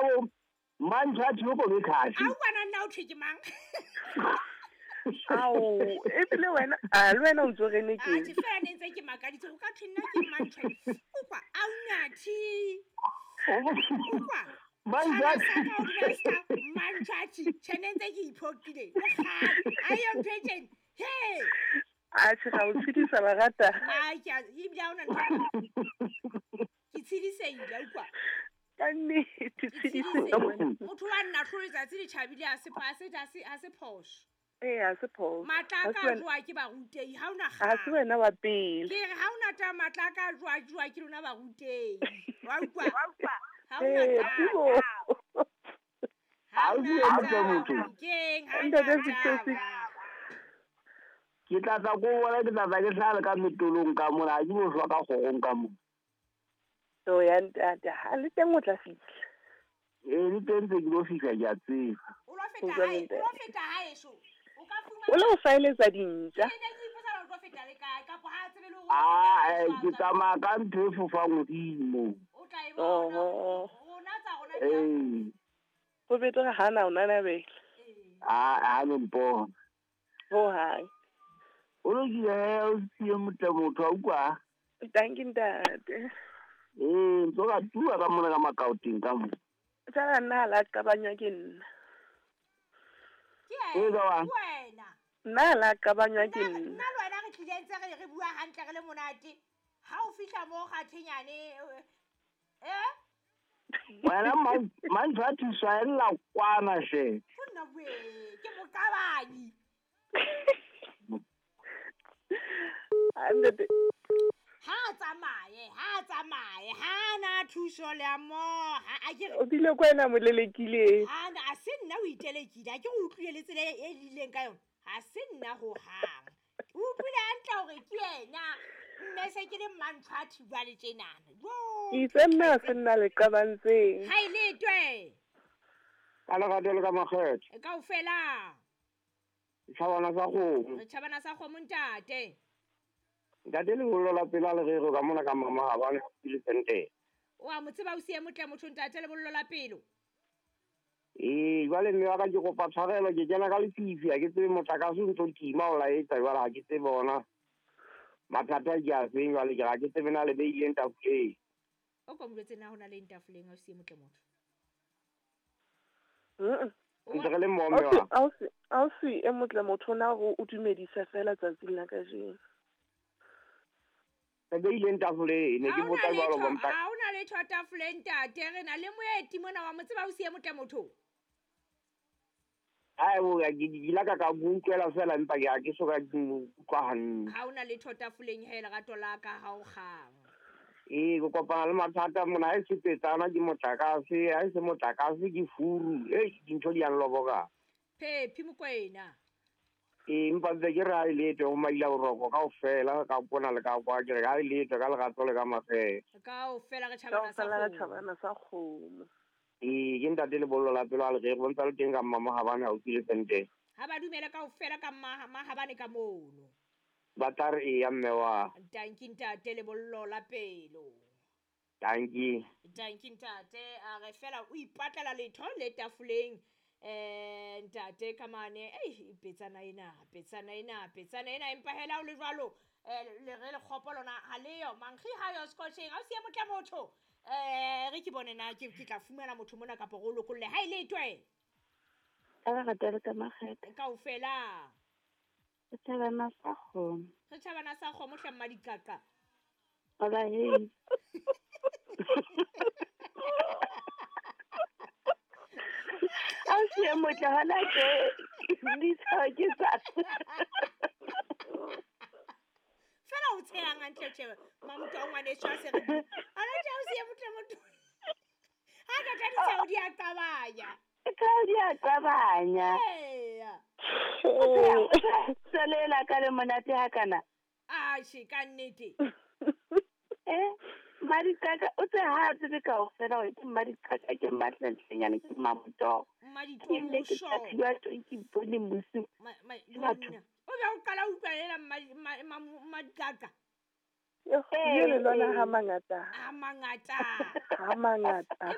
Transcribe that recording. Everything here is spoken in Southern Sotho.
bo Mantšhatši o kobe khaši. A o kwana nna o thwe ke mang? Ao, ebile wena, a le wena o ntso rene ke. Atjhe, fela ne ntse ke makaditse go ka thwe nna ke Mantšhatši. O kwa, a o nathi. O kwa. Mantšhatši. Mantšhatši, tjhe ne ntse ke iphoqile. Le kgale, a yo ntho e tjena. He. Atjhe, ga o tshedisa ba rata. Ai, ke a ebile ha ona ntho. Ke tshedisehile, o kwa. Ka nnete, tshedisehile. Motho wa nna hlolo letsatsi le tjhabile ha se ha se phoso. Ee, ha se phoso. Matla a ka jowa ke barutehi, ha ona Ha se wena wa pele. Ke re ha ona taba matla a ka jowa ke lona barutehi. Wa utlwa? Ha ona taba. Ha ona taba. Keng, ha ona taba. Ke tla tla ko bona, ke tla tla ke hlale ka metolong ka mona, ha ke bo hlwa ka kgorong ka mona. To ya ntate, ha le teng o tla fihla. Ee, le teng tse ke lo fihla ke a tseba. O lo feta hae, o lo feta haeso. O ka fumana O lo faeletsa dintja. Ke ne ke ipotsa hore o tlo feta le kae, kapa ha tsebe le hore Ah, ke tsamaya ka ntho e fofang hodimo. O tla e bona. Rona tsa rona di a Ee. Ho betere ha na o nanabela. Ah, ha no mpona. Ho hang. O lokile he, o siye motle motho a utlwa. Thank you ntate. Ee, ntso ka tua ka mona ka makaoteng ka mona. Tsala nna la qabanywa ke nna. Ke Ee, ka wa? wena. Nna la qabanywa ke nna. Nna le wena re tlile ntse re bua hantle re le monate. Ha o fihla mo kgathenyane, eh? Wena Mantšhatši swaella kwana she. Ho nna we, ke moqabanyi. Ntate. Ha tsamaye, ha na thuso le a mo, ha a ke O bile kwena molelekile. Ha na a se nna o itelekile, ha ke go utlwile le tsela e lileng ka yona. Ha se nna ho hang. O utlwile hantle hore ke yena. Mme se ke le Mantšhatši jwale tjenana. Jo. Itse nna se nna le qabantseng. Ha ile twe. Ka lerato le ka makgetho. Kaofela. Tjhabana sa kgomo. Re tjhabana sa kgomo ntate. Ntate lebollo la pela le rero ka mona ka mama ha bane le sente. O a mo tseba o siye motle motho ntate lebollo la pelo. Ee, jwale mme wa ka ke kopa tshwarelo, ke kena ka lefifi, ha ke tsebe motlakase o ntso tima o laetsa jwale ha ke tsebe ona. Mathata ke a feng jwale ke ha ke tsebe na le beileng tafoleng. O ko mo jwetse na hona le tafoleng ha o siye motle motho. Ntse re le mmoho mme wa. Ausi e motle motho na hore o dumedisa fela tsatsing la kajeno. Re beileng tafoleng, ne ke botsa jwalo ba mpa. Ha hona letho tafoleng ntate, re na le moeti mona wa mo tseba o siye motle motho. Ai bo ya ke la ka utlwela fela empa ke ha ke so ka utlwa hantle. Ha hona letho tafoleng he lerato la ka ha o kgang. Ee, ke kopana le mathata mona, ha e se petsana ke motlakase, ha e se motlakase ke furu. Ei, dintho di a nloboka. Phephi Mokoena. Ee, empa ntse ke re ha e letho ho maila boroko kaofela ka pona le ka kwa ke re ha e letho ka lerato le ka makgetho. Kaofela re tjhabana sa Kaofela re kgomo. tjhabana sa kgomo. Ee, ke ntate lebollo la pelo a le re bontsa le teng ka mmamohabane haufi le sente. Ha ba dumele kaofela ka mmahabane ka mono. Ba tla re eya mme wa. Tanki ntate lebollo la pelo. Tanki. Tanki ntate, a re fela o ipatlela letho le tafoleng. Ntate ka mane, ei petsana ena, empa hela o le jwalo, le re le kgopo lona ha leyo, mankgi ha yo scotcheng, ha o siye motle motho. Re ke bone na ke tla fumana motho mona kapa go lokolle. Ha ile twe. Ka lerato le ka makgetho. Kaofela. Re tjhabana sa kgomo. Re tjhabana sa kgomo hle mma diqaqa. Hola he. A siye motle hona ke ditshao ke tsa. Fela o tshehang hantle tjhe, mamoto wa ngwaneso a se re. Ana tjhe o siye motle motho. Ha ka tla ditshao di a qabanya. Ditshao di a qabanya. Eya. Tselela ka le monate ha kana. Atjhe ka nnete. Madiqaqa o tse ha tsebe kaofela hore ke Madiqaqa ke mmatlentlenyane ke mmamoto. Mmaditomoso. Ke ke ke bone mosi. Batho. O be o qala utlwa Madiqaqa. Yo, le lona ha mangata. Ha mangata. Ha mangata. Empa